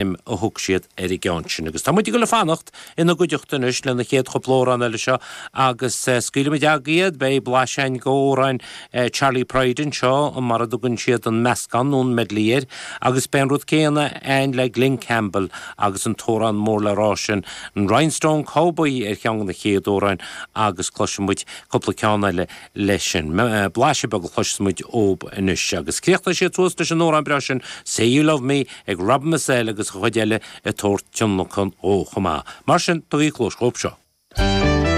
A thug siad ar an gceann sin. Agus tá muid ag dul a fanacht ina gcuideachta anois le na chéad chúpla amhrán eile seo agus scaoilfidh muid agaibh iad. Beidh blaiseadh againn d'amhráin Charley Pride anseo, mar a dtugann siad an meascán nó an medley air, agus beidh an rud céanna againn le Glen Campbell agus an t-amhrán mór le rá sin, an Rhinestone Cowboy ar cheann de na chéad amhráin agus cloisfidh muid cúpla ceann eile leis sin. Blaiseadh beag a chloisfeas muid uathu anois. Agus críochnóidh siad suas leis an amhrán breá sin, Say You Love Me, ag Rob Mazell agus an chuid eile ag tabhairt tionlacan dhó chomh maith. Mar sin, tugaigí cluas dhóibh seo.